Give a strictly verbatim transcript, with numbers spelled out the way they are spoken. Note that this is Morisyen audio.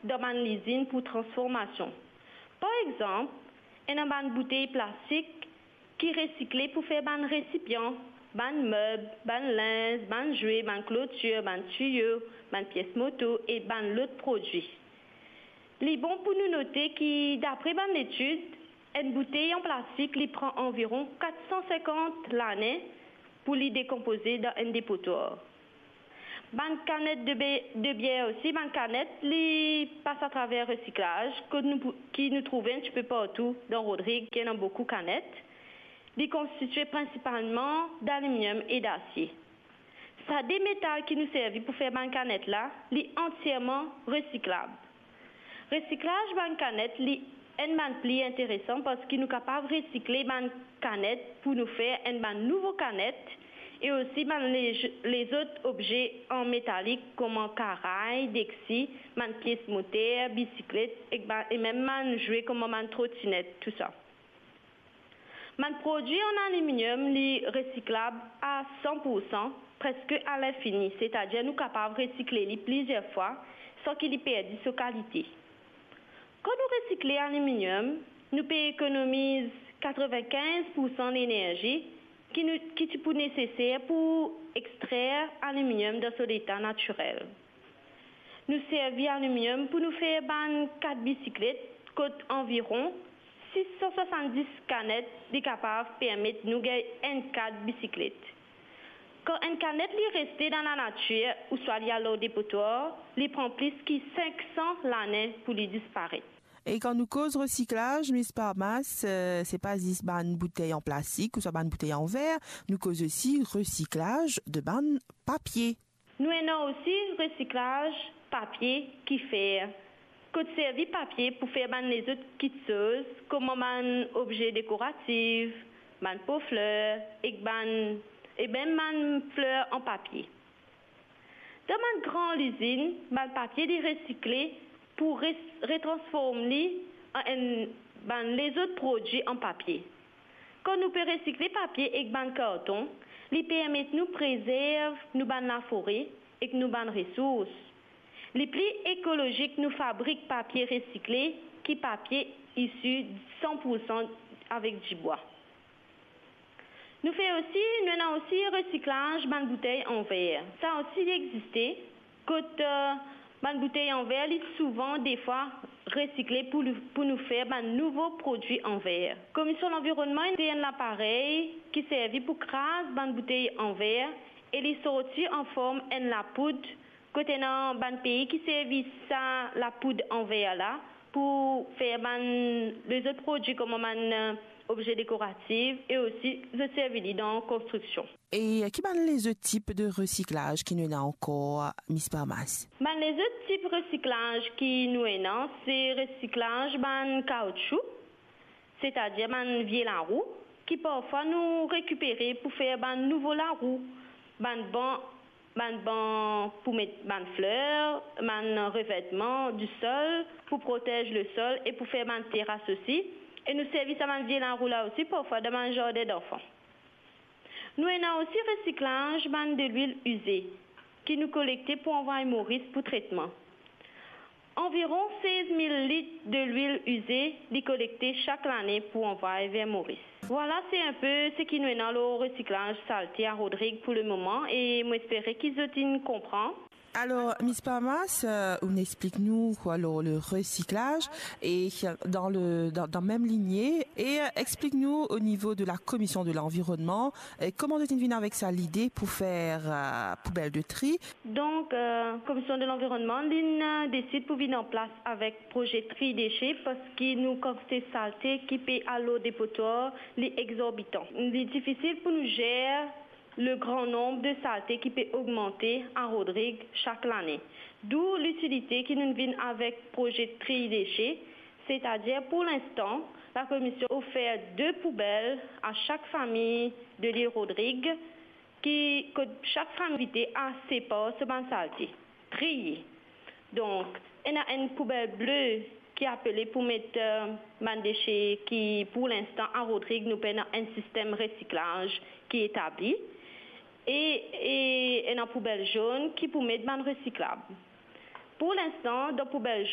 dan bann lizinn pou transformasion. Par exanp, ena bann boutey plastik ki resikle pou fer bann resipian, bann meb, bann linz, bann zwe, bann klotir, bann tiyo, bann pies moto e bann lot prodwi. Li bon pou nou note ki, dapre bann letid, enn boutey an plastik, li pran anviron kat san sinkant lane pou li dekonpoze dan enn depotwar. Bann kanet de be-, de bier osi, bann kanet, li pas atraver resiklaz, kot nou pou, ki nou trouve enn tipe partou dan Rodrig, ki ena boukou kanet. Li konstitie prinsipalman daliminyom e dasie. Sa de metal ki nou servi pou fer bann kanet la, li antierman resiklab. Resiklaz bann kanet, li enn bann pli interesan, parski nou kapav resikle bann kanet pou nou fer enn bann nouvo kanet, e osi bann le-, lezot obze an metalik, kouma karay, deksi, bann pies moter, bisiklet, ek bann, e mem bann zwe kouma bann trotinet, tousa. Bann prodwi an aliminyom, li resiklab a san pou san, preske a linfini, setadir nou kapav resikle li plizier fwa san ki li perdi so kalite. Kan nou resikle aliminyom, nou pe ekonomiz katreven-kinz pou san lenerzi ki nou, ki ti pou neseser pou extrer aliminyom dan so leta natirel. Nou servi aliminyom pou nou fer bann kad bisiklet, kot anviron sis san swasanndis kanet li kapav permet nou gagn enn kad bisiklet. Kan enn kanet li reste dan lanatir ouswa li al lor depotwar, li pran plis ki sink san lane pou li disparet. E kan nou koz resiklaz, Miss Parmas, eh, se pa zis bann boutey an plastik ouswa bann boutey an ver, nou koz osi resiklaz de bann papie. Nou ena osi resiklaz papie ki fer, kot servi papie pou fer bann lezot kitsoz, kouma bann obze dekoratif, bann po fler, ek bann, e mem bann fler an papie. Dan bann gran lizinn, bann papie li resikle pou res-, retransform li an enn bann lezot prodwi an papie. Kan nou pe resikle papie ek bann karton, li permet nou prezerv nou bann lafore ek nou bann resours. Li pli ekolozik nou fabrik papie resikle ki papie isi san pou san avek dibwa. Nou fer osi, nou ena osi resiklaz bann boutey an ver. Sa osi li existe, kot, eh, bann boutey an ver, li souvan defwa resikle pou, pou nou fer bann nouvo prodwi an ver. Komision Lanvironnman ena enn laparey ki servi pou kraz bann boutey an ver e li sorti an form enn lapoud, kot ena bann pei ki servi sa lapoud an ver la pou fer bann lezot prodwi kouma bann, eh, obze dekoratif e osi zot servi li dan konstriksion. E ki bann lezot tip de resiklaz ki nou ena ankor, Miss Parmas? Bann lezot tip resiklaz ki nou ena, se resiklaz bann kaoutchou, setadir bann vie larou, ki parfwa nou rekipere pou fer bann nouvo larou, bann ban, bann ban pou met bann fler, bann revetman di sol pou protez lesol e pou fer bann teras osi. E nou servi sa bann vie larou la osi parfwa dan bann zardin danfan. Nou ena osi resiklaz bann delwil ize ki nou kolekte pou anvway Moris pou tretman. Anviron sez mil lit delwil ize li kolekte sak lane pou anvway ver Moris. Vwala, se enpe seki nou ena lor resiklaz salte a Rodrig pou lemoman e mo espere ki zot inn konpran. Alor, Miss Parmas, eh, ou'nn explik nou, alor, le resiklaz e dan le, dan, dan mem linie, e, eh, explik nou o nivo de la Komision de Lanvironnman, eh, kouma zot inn vinn avek sa lide pou fer, eh, poubel de tri. Donk, eh, Komision de Lanvironnman, li'nn, eh, desid pou vinn an plas avek proze tri dese, parski nou kantite salte ki pe al lor depotwar, li exorbitan. Li difisil pou nou zer le gran nonb de salte ki pe ogmante a Rodrig sak lane. Dou litilite ki nou vinn avek proze tri dese, setadir pou linstan, lakomision ofer de poubel a sak fami de Lil Rodrig, ki, kot sak fami invite a separ so bann salte, triye. Donk, ena enn poubel ble ki apele pou met, eh, bann dese ki, pou linstan, a Rodrig, nou pena enn sistem resiklaz ki etabli. E, e ena poubel zonn ki pou met bann resiklab. Pou linstan, dan poubel zonn,